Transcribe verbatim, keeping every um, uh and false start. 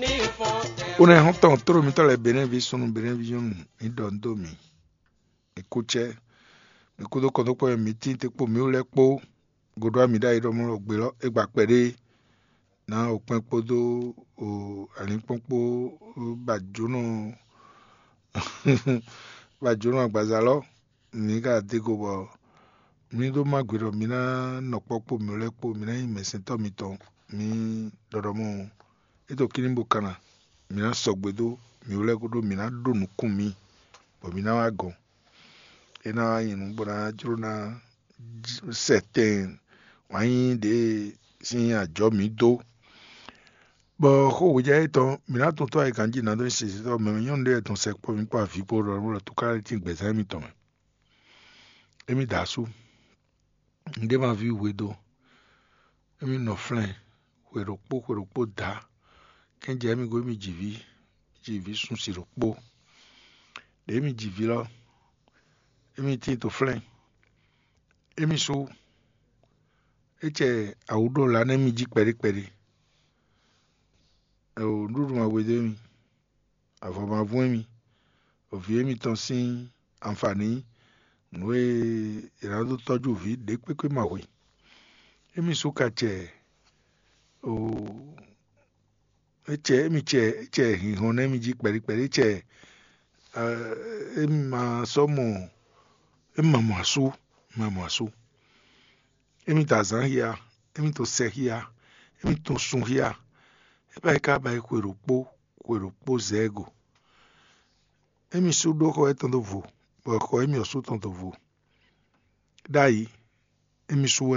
Ní fɔ́n tɛ Ó nɛ́ xɔ́ntɔn tló mitɔ́ lɛ́ɛ Benɛ́ví súnnu Benɛ́ví nyɔ́nu, mi ɖɔ nǔ dó mì. Mi kú cɛ́, mi kú dó kɔn dó kpɔ́ mì tín te kpó mǐ lɛ́ɛ kpó. Godó ami ɖ'ayǐ ɖɔ mɔ ɖɔ gbe lɔ é gba kpɛɖé. Ná okpɛn kpódó alǐnkpɔ́n kpó ba jǒnɔ ba jǒnɔ agbaza lɔ. Mǐ ka dó go bɔ mǐ ɖó má gbe ɖɔ mǐ ná nɔ kpɔ́ kpó mǐ lɛ́ɛ kpó, mǐ ná nyí mɛ̌sɛntɔ́ mitɔn. Mǐ ɖɔɖɔmɔ é to kíní bó kanna, mǐ ná sɔgbe dó mǐ lɛ́ɛ kúdó mǐ ná ɖó nukún mǐ, bɔ mǐ ná wá gɔn. É ná wá nyí nǔ bó ná jló ná sɛtɛn wǎn nyí ɖě sín ajɔ̌ mǐ dó. Bɔ xó hwejɛ étɔn mǐ ná tɔn tɔ́ ayǐ ganjí nǎ dó nyi sisitɔ́ mɛ nyɔ́nu ɖé tɔn sɛkpɔ́ mǐ kpó avǐ kpó ɖɔ nú túká lɛ́ɛ tín gbɛ̌zán émítɔn mɛ. Émí da asú, un ɖé ma ví hwe dó, émí nɔ flɛ́n hwe ɖokpó hwe ɖokpó dǎ. Kɛ́njɛ émí go émí ji vǐ, ji vǐ sunsi ɖokpó. Ɖě émí ji vǐ lɔ, émí tín to flɛ́n. Émí sú é cɛ awǔ ɖo la nú émí jí kpɛɖé kpɛɖé. Nǔɖuɖu ma hwe dó émí, avɔ ma vún émí, vǐ émítɔn sín anfǎní nǔ e è nǎ dó tɔ́jú vǐ ɖě kpékpé ma hwe. Émí sú ka cɛ o é cɛ émí cɛ é cɛ hinhɔn nú émí jí kpɛɖí kpɛɖí cɛ émí ma sɔ́ mɔ émí ma mɔ asú ma mɔ asú. Émí to azǎn xia, émí to sɛ xia, émí to sun xia. É ba yi ka ba yi xwe ɖokpó xwe ɖokpó zɛ go. Émí sú ɖó xɔ étɔn dó vo, bɔ xɔ émí ɔ́ sú tɔn dó vo. Ɖ'ayǐ, émí sú wɛ